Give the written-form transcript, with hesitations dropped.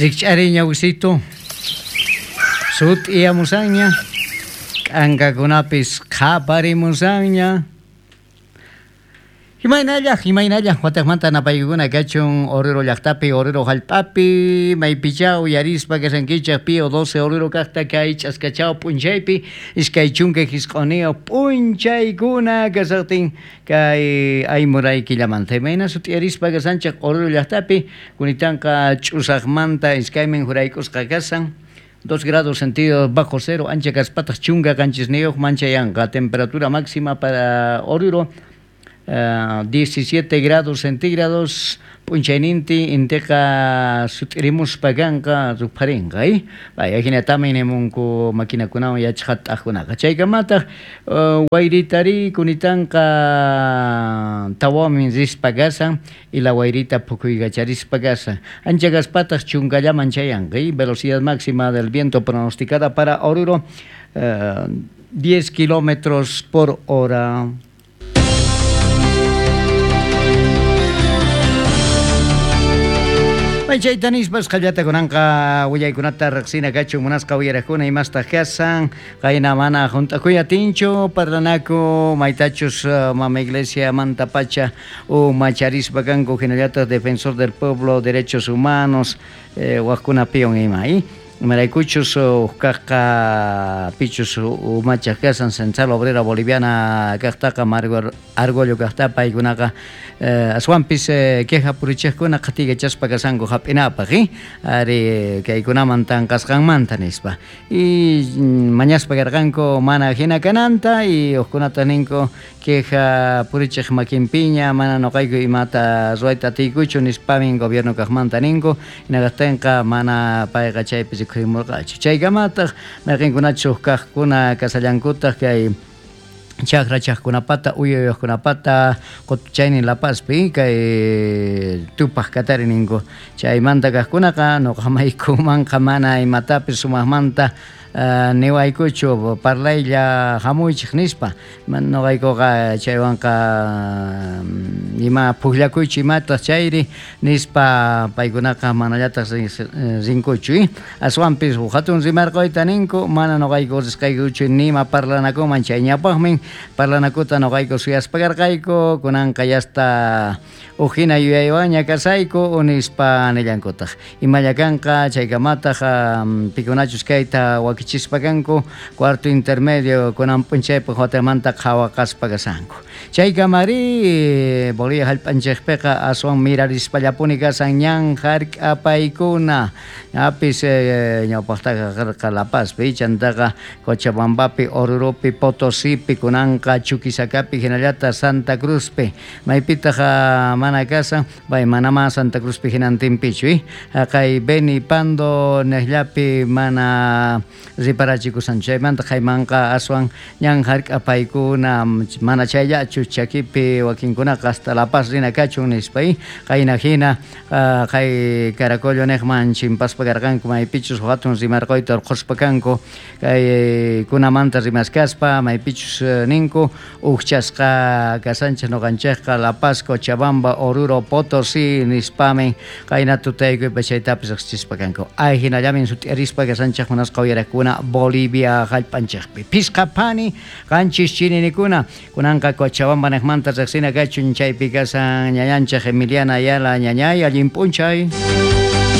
Rikch'ariy ñawisitu, sut'iyamusanña, k'ankakunapis qhaparimusanña. Imaynalla, imaynalla, watejmanta napaykukuna kachun Oruro llajtapi, Oruro jallp'api, maypichá uyarispa kashankichej Pío 12 Oruro kajta kay ch'askachaw p'unchaypi, 29 p'unchaykuna kashajtin kay aymuray killamanta. Imayna sut'iyarispa kashanchej Oruro llajtapi, kunitanqa ch'usajmanta iskaymin jurayk'usqa kashan, 2 grados centígrados bajo cero, ancha kaspataj 17 manchayanqa, temperatura máxima para Oruro 17 grados centígrados, p'unchaynintin inteqa sut'irimuspa kanqa rupharinqa, vaya hinatami nimunku maquinakunawan yachaqat'aqkunaqa. Chaykamataq wayritari kunitanqa tawamin rispa kasan y la wayrita phukuykacharispa kasan. Ancha kaspataq chunkallaman chayanqa, velocidad máxima del viento pronosticada para Oruro 10 kilómetros por hora. Chayta nispas qallata kunanqa willaykunata riqsina kachun munasqa uyaraqkuna imastaq kasan qayna mana junt'akuy atinchu parlanaku maytachus mama iglesia mantapacha umacharispa kanku hinallataq defensor del pueblo derechos humanos waqkunapiwan ima imaraykuchus uqkaqqa pichus umachaq kasan Central Obrera Boliviana kaqtaqa Mario Argollo kaqta paykunaqa aswanpis queja purichiqkuna qhatikachaspa kasanku hap'inapaq ari kaykunaman tanqasqanmanta nispa y mañaspa karqanku mana hina kananta y uqkunata ninku queja purichiq makinpiña mana nuqayku imata ruwayta atiykuchu nispamin gobierno kaqmanta ninku hinaqtinqa mana payqa chaypi rikhurimurqachu. Chaykamataq mayqinkunachu kaqkuna kasallankutaq kay chakra chaqkunapata uyayuqkunapata qutuchaynin La Pazpi kay tupaq katari ninku chaymanta kaqkunaqa nuqamaykumanqa mana imatapis sumaqmanta niwaykuchu parlaylla hamuychik nispa nuqaykuqa chaywanqa ima pukllakuychu imataq chayri nispa paykunaqa manallataq rinkuchu aswanpis hatun rimarquyta ninku mana nuqayku risqaykuchu nima parlanakuman chay ñawpaqmin parlanakuta nuqayku suyaspa karqayku kunanqa yasta uj hina yuyaywanña kasayku nispa nillankutaq imalla kanqa chaykamataq pikunachus kayta wakichispa kanku cuarto intermedio kunan p'unchaypaq watamanta qhawaqaspa kasanku chaykamari Bolivia jallp'anchikpiqa aswan mirarispallapuni kasan ñan jark'apaykuna ñapis ñawpaqtaqa karqa La Pazpi chantaqa Cochabambapi Oruropi Potosipi kunanqa Chuquisacapi hinallataq Santa Cruzpi maypitaq mana kasan bay manama Santa Cruzpi hinantinpichu haqay Beni Pando niqllapi mana riparachikushan chaymanta qaymanqa aswan ñan jark'apaykuna mana chayllachu chakipi wakinkunaqa hasta La Paz rina kachun nispa qayna hina qay Caracollo niqman chimpaspa karqanku maypichus hatun rimarquyta urqhuspa kanku kay kunamanta rimaskaspa maypichus ninku uqchasqa kasanchik nuqanchikqa La Paz, Cochabamba, Oruro, Potosí nispamin qayna tutaykuypa chaytapis riqsichispa kanku ay hinallamin sut'iarispa kasanchik munasqa uyarakuna Bolivia jallp'anchikpi pisqa phani qanchis chininikuna kunanqa Cochabamba niqmanta riqsina kachun chaypi kasan ñañanchik Emiliana Ayala ñañay allin p'unchay.